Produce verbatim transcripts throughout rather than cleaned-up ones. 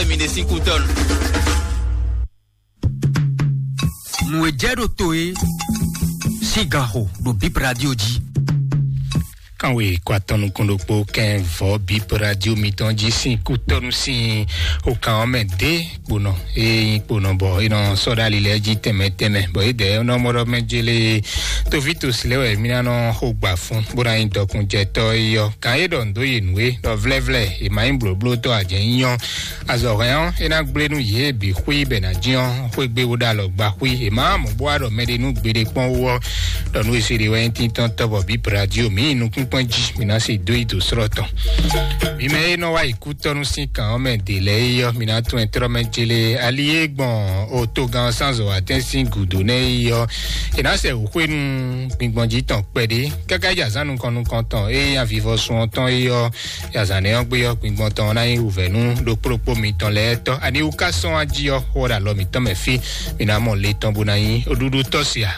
Mi ɖe sín kútɔ́nu. Nǔ e jɛ ɖo to é sín ganxo ɖo Bip Radio jí. Kanwe kɔ atɔn nukún ɖokpó kɛn vɔ Bip Radio mitɔn jí sín kútɔ́nu sín okan ɔ́ mɛ dé kponɔ. Eye nyí kponɔ bɔ é nɔ sɔ́ ɖó ali lɛ́ɛ jí tɛnmɛ tɛnmɛ, bɔ é dɛɛ nɔ mɔ ɖɔ mɛ jélé toví tosi lɛ́ɛ wɛ mí ná nɔ xo gbà fún bó ná nyí dɔkun jɛ tɔ́ é yɔ. Kan é ɖɔ nǔ dó yi nǔ é ɖɔ vlɛ́vlɛ́ è ma nyí blǒblótɔ́ ǎ jɛ́n nyí ɔ́. Azɔ̌ hɛn ɔ́, é ná gblé nú yě bǐ xwí bɛ ná jínjɔ́n xwé gbe bó ɖo alɔ gba xwí. È má mɔ bó wá ɖɔ mɛɖé nú gbeɖé kpɔ́n wú ɔ́, ɖɔ nú è se ɖe wɛ nyí tíntɔ́n tɔ́ bɔ bǐ Brazil mǐ yi nukúnkpɔ́n jí, mǐ ná se dó yi dǒ slɔ́ tɔn. Mǐ mɛ e nɔ wá yi kútɔ́nú sín kan ɔ́ mɛ ɖě lɛ́ɛ é ɔ́, mǐ ná tunwun ɛ tlɔ́ mɛ jélé ali e gbɔn otogan sánzɔ atɛ́n sín gǔdo nɛ́ é ɔ́, è nǎ sɛ wǔxwé nú gbingbɔn jí tɔn kpɛɖé káká yi azǎn nukɔn nukɔn tɔn e nyí avivɔsun ɔ́ tɔn é ɔ́. Yazan nɛ́ ɔ́ gbé ɔ́, gbingbɔn tɔn ɔ́ ná nyí wǔvɛ́ nú ɖokpó ɖokpó mitɔn lɛ́ɛ tɔ́. Ani wú ká sɔ́n wá jí ɔ́, xó ɔ́ ɖo alɔ mǐtɔn mɛ fí, mǐ ná mɔ le tɔn bó ná nyí ɖuɖu tɔ́ sia.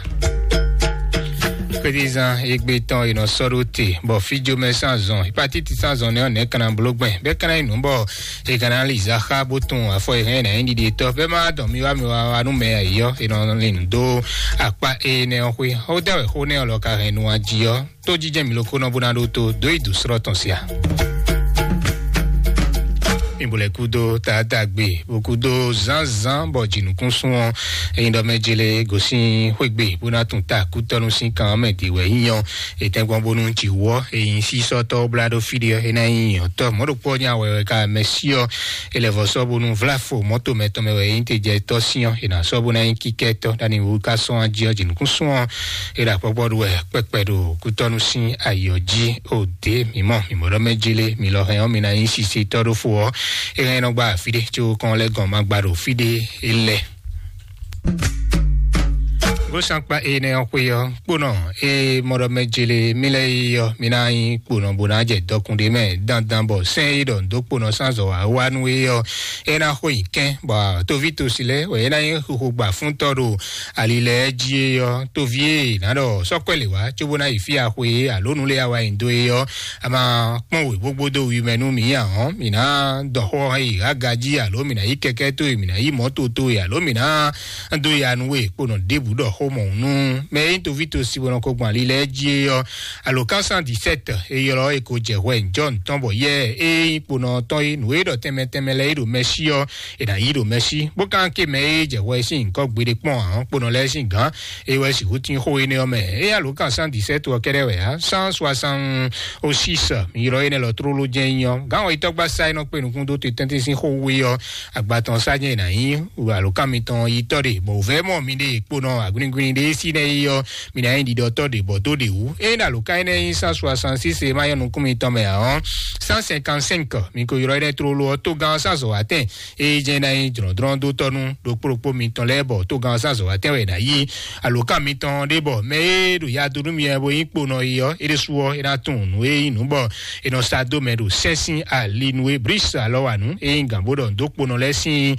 Kpédízán égbé tɔn è nɔ sɔ́ ɖó te, bɔ fíjomɛ sín azɔn, hepatiti sín azɔn nɛ́ ɔ́, nɛ̌ ka ná bló gbɛn? Bɛ́ ka ná nyí nǔ bɔ è ka ná li zǎxá bó tunwun afɔ e hɛn ná nyí ɖiɖi tɔ́. Bɛ́ má dɔn mi wá mi wá wá nú mɛ ayǐ ɔ́, è nɔ lin nǔ dó akpá énɛ́ ɔ́ xwé. Xó dɛ́ wɛ xó nɛ́ ɔ́ lɔ ka hɛn nu wá jí ɔ́, tó jijɛ mi loko nɔ bó ná ɖó tó dó yi dǒ slɔ́ tɔn sia. Mi bo lɛ kúdó taatagbe, bo kúdó zánzán bɔ jǐnukúnsún ɔ́, eyin ɖɔ mɛ jele gosín xwégbe bó ná tún ta kútɔ́nú sín kan ɔ́ mɛ dě wɛ nyí ɔ́. Etɛ́gbɔn bónú jǐwɔ eyin sísɔ́tɔ́ blá ɖó fí ɖé ɔ́, é ná nyí nyɔ̌tɔ́ mɔ̌ ɖokpó ɔ́ nyí awɛ wɛ ká mɛ sí ɔ́. È lɛ vɔ sɔ́ bónú vláfo mɔ̌ tomɛ tɔn mɛ wɛ é nyí te jɛ tɔ́ sín ɔ́, è nǎ sɔ́ bó ná nyí kíkɛ́tɔ́ ɖ'ani wú ká sɔ́n jí ɔ́, jǐnukúnsún ɔ́, è ɖo akpɔ́kpɔ́ ɖu wɛ kpɛkpɛ ɖo kútɔ́nú sín ayǐ ɔ́ jí. Ó dě mǐ mɔ mǐ mɔ ɖɔ mɛ jí lé, mǐ lɔ hɛn ɔ́, mi ná nyí sisitɔ́ ɖó fo ɔ́, é hɛn nɔ gba fí ɖé có kɔn lɛ́ gɔn ma gba ɖo fí ɖé é lɛ. Gosakpa énɛ́ ɔ́ xwé ɔ́, kponɔ e mɔ ɖɔ mɛ jele mí lɛ́ɛ yi ɔ́, mi ná nyí kponɔ bó ná jɛ dɔkun ɖé mɛ dandan bɔ sɛ́n e ɖɔ nǔ dó kponɔ sín azɔ̌ wá wá nú é ɔ́, é ná xo nyi kɛ́n, bɔ toví tosi lɛ́ɛ wɛ é ná nyí xixo gba fúntɔ́ ɖo ali lɛ́ɛ jí é ɔ́. Toví e ná ɖɔ sɔ́kɔ́ lě wá cóbó ná yi fí axwe é, alo nǔ lé awa nyi dó é ɔ́, a ma kpɔ́n wěgbógbó dó wi mɛ nú mǐ ǎ ɔ́, mǐ ná dɔ xó ɔ́ yi aga jí, alo mǐ ná yí kɛkɛ́ towe, mǐ ná yí mɔ̌to towe, alo mǐ ná dó ya nú we kponɔ ɖěbǔ ɖɔ xó mɔ̌ nú mɛ e nyí toví tosi bɔ nɔ ko gbɔn ali lɛ́ɛ jí é ɔ́. Alo kan cent dix-sept e ylɔ́ e ko jɛ hwɛ njɔ́ tɔn bɔ yɛ e nyí kponɔ tɔn é, nǔ e ɖɔ tɛnmɛ tɛnmɛ lɛ́ɛ é ɖo mɛ sí ɔ́, è nǎ yí ɖo mɛ sí, bó ka ké mɛ e jɛ hwɛ sín nyǐkɔ gbeɖé kpɔ́n ǎ, kponɔ lɛ́ɛ sín gǎn, é wɛ sixú tín xó énɛ́ ɔ́ mɛ. É alo kan cent dix-sept ɔ́ kɛ́ɖɛ́ wɛ ǎ, cent soixante-six ylɔ́ énɛ́ lɔ tlóló jɛ́n nyí ɔ́, gǎn ɔ́ yi tɔ́gbásá e nɔ kpé nukún dó te tɛ́ntin sín xó wé ɔ́, agba tɔn sá jɛ́n è nǎ nyí alo kan mitɔn yi tɔ́ ɖe, bɔ wǔvɛ́ mɔ mi ɖe kponɔ agwingwin ɖé sí nɛ́ yi ɔ́, mi ná nyí ɖiɖɔtɔ́ ɖě bɔ dó ɖě wú. Ényí ɖo alǒkan énɛ́ nyí cent soixante-six e ma nyɔ́ nukún mitɔn mɛ ǎ ɔ́, cent cinquante-cinq mi ko ylɔ́ énɛ́ tlóló ɔ́, togán ɔ́ sín azɔ̌watɛn e jɛ́n ná nyí jlɔ̌ndrɔ́n dó tɔ́ nú ɖokpó ɖokpó mitɔn lɛ́ɛ, bɔ togán ɔ́ sín azɔ̌watɛn wɛ è nǎ yí. Alǒkan mitɔn ɖé bɔ mɛ e ɖo ya dó nú mi wɛ bó nyí kponɔ yi ɔ́, é ɖésú ɔ́, é ná tunwun nǔ e nyí nǔ bɔ è nɔ sa dó mɛ ɖo sɛ́n sín ali nú é. Brísi alɔ wa nǔ e nyí gǎn bó ɖɔ nǔ dó kponɔ lɛ́ɛ sín